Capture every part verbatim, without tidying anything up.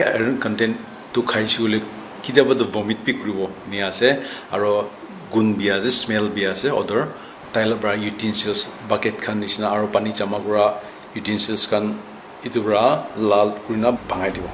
Iron content tu khaise koile kitiaba tu vomit bi kuribo enia ase, aro gun bi ase, smell bi ase, odor. Tai la para utensils, bucket khan nishina aro pani jama kura utensils khan etu para lal kurina bhangai dibo.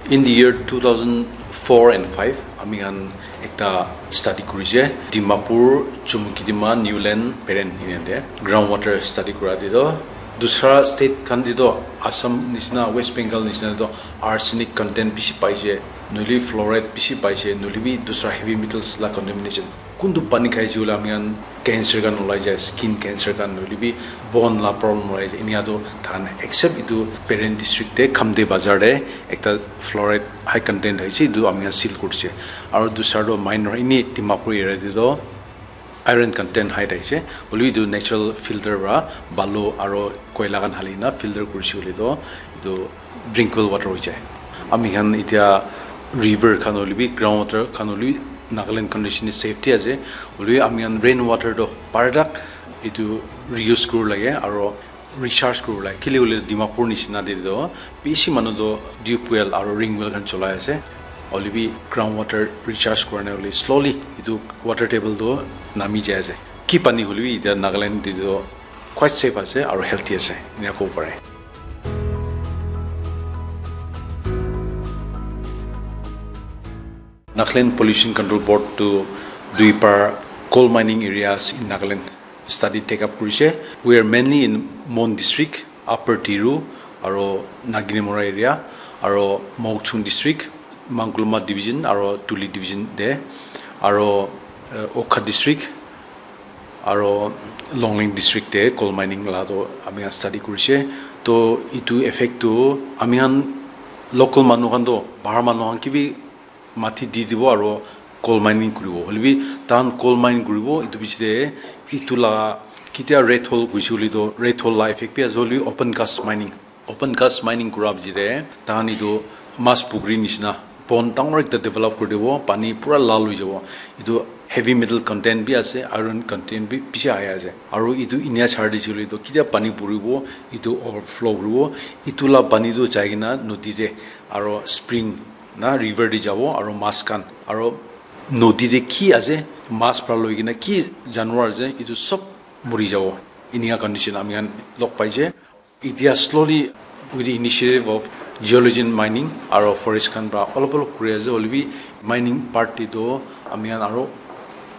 In the year two thousand four and five, ami khan ekta study kurishe, Dimapur, Chumukedima, Niuland, Peren enia te ground water study kura te toh dusra state khan te toh Assam nishina, West Bengal nishina te toh arsenic content bishi paishe, nohole fluoride bishi paishe, nohole bi dusra heavy metals la contamination. Kuntu pani khaise koile ami khan cancer khan ulai jai, skin cancer khan, nohole bi bone la problem ulai jai. Enia toh tahan except etu Peren district te Khamde bazar te ekta fluoride high content hoise, etu ami khan seal kurishe. Aro dusra toh minor, ini Dimapur area te toh iron content high thakiase, hoilebi etu natural filter para balu aro koila khan hali kena filter kurishe koile toh etu drinkable water hoi jai. Ami khan etia river khan hoilebi ground water khan hoilebi Nagaland condition safety ase, hoilebi ami khan rain water toh paratak etu reuse kuribo lage aro recharge kuribo lage. Kile hoile Dimapur nishina te toh bishi manu toh tube well aro ring well khan cholai ase. Hoilebi ground water recharge kurane hoile slowly etu water table toh nami jai ase. Ki pani hoilebi etia Nagaland te toh quite safe ase aro healthy ase, enia kobo pare. Nagaland Pollution Control Board to do it for coal mining areas in Nagaland study take up kurishe. We are mainly in Mon district, Upper Tiru, aro Naginimora area, aro Mokokchung district, Mangkulma division, aro Tuli division te, aro uh, Wokha district, aro Longleng district te coal mining la toh ami khan study kurishe. Toh etu effect toh ami khan local manu khan toh bahar manu khan ke bi mati di dibo aro coal mining kuribo. Hoilebi tahan coal mine kuribo, etu piche te etu la ketia red hole hoise koile toh red hole la effect bi ase, hoilebi open cast mining, open cast mining kura piche te tahan etu mas pukri nishina pond dangor ekta develop kuri dibo, pani pura lal hoi jabo. Etu heavy metal content bi ase, iron content bi bishi ahi ase. Aro etu enia chari dise koile toh ketia pani puribo, etu overflow kuribo, etu la pani toh jai kena nodi te aro spring na river te jabo, aro mas khan aro nodi te ki ase, mas para loi kena ki janwar ase, etu sob muri jabo. Enia condition ami khan log paise. Etia slowly with the initiative of Geologian Mining aro forest khan para olop olop kuri ase, hoilebi mining part te toh ami khan aro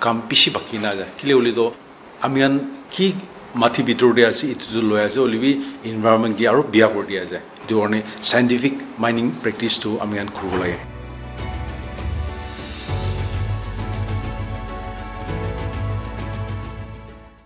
kam bishi baki na ase. Kile hoile toh ami khan ki mati bitor te ase, etu toh loi ase, hoilebi environment ke aro biya kuri di ase. Etu karne scientific mining practice toh ami khan kuribo lage.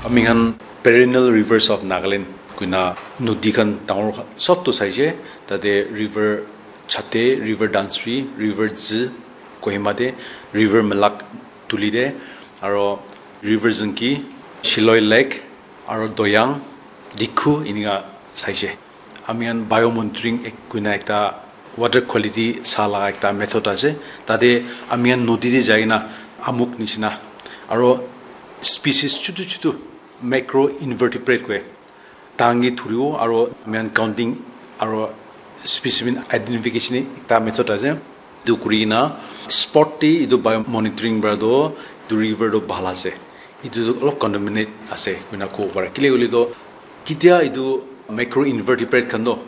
Ami khan perennial rivers of Nagaland koina nodi khan dangor khan sob toh saise, tate river Chate, river Dhansiri, river Dzi, Kohima te, river Malak, Tuli te, aro river Zunki, Shiloi Lake, aro Doyang, Dikhu, inika saise. Ami khan biomonitoring ek-, koina ekta water quality sa laga ekta method ase. Tate ami khan nodi te jai kena amuk nishina aro species chutu chutu macro invertebrate koi tahan ke thuribo aro ami khan counting aro specimen identification ekta method ase. Etu kuri kena spot te etu biomonitoring para toh etu river toh bhal ase. Etu toh olop contaminate ase koina kobo pare. Kile koile toh ketia etu macro invertebrate khan toh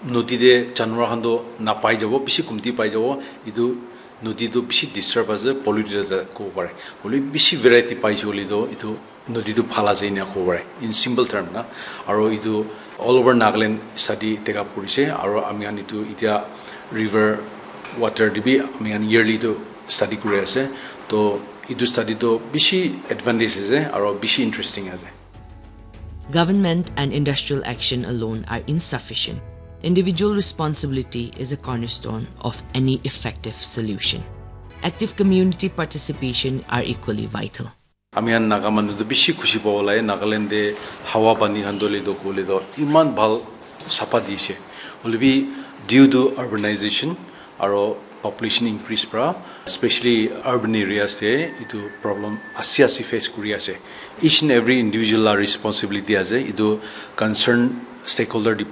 nodi te janwar khan toh napai jabo, bishi kumti pai jabo. Etu nodi toh bishi disturb ase, polluted ase kobo pare. Hoile bishi variety paise koile toh etu nodi toh bhal ase enia kobo pare, in simple term na. Aro etu all over Nagaland study take up kurishe, aro ami khan etu etia river water te bi ami khan yearly toh study kuri ase. Toh etu study toh bishi advantage ase aro bishi interesting ase. Government and industrial action alone are insufficient. Individual responsibility is a cornerstone of any effective solution. Active community participation are equally vital. Ami khan Naga manu toh bishi khushi pabo lage, Nagaland te hawa pani khan toh le toh koile toh iman bhal sapha dishe. Hoilebi due to urbanization aro population increase pra, especially urban areas te etu problem asi asi face kuri ase. Each and every individual la responsibility ase etu concern stakeholder